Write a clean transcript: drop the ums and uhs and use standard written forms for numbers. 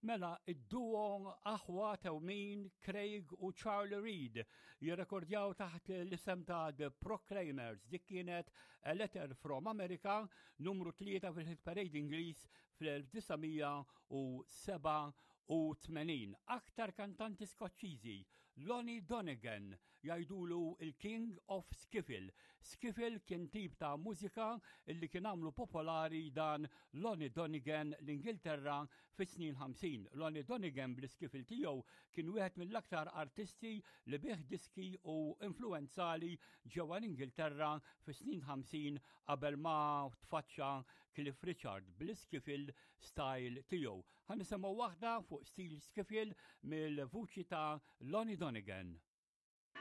Mela, id-duo aħwa tewmin Craig u Charlie Reid jirrekordjaw taħt l-isem ta' The Proclaimers. Dik kienet A Letter from America, numru 3 fil-Hit Parade Ingliż fl-1987. Aktar kantanti Skoċċiżi, Lonnie Donegan, jgħidulu il-King of Skiffle. Skiffle kien tip ta' mużika illi kien għamlu popolari dan Lonnie Donegan l-Ingilterra fis-snin 50. Lonnie Donegan bl-skiffle tiegħu kien wieħed mill-aktar artisti li bih diski u influenzali ġewwa l-Ingilterra fis-snin 50 qabel ma tfaċċa Cliff Richard bl-skiffle style tiegħu. Ħa nisimgħu waħda fuq stil skiffle mill-vuċi ta' Lonnie Donegan.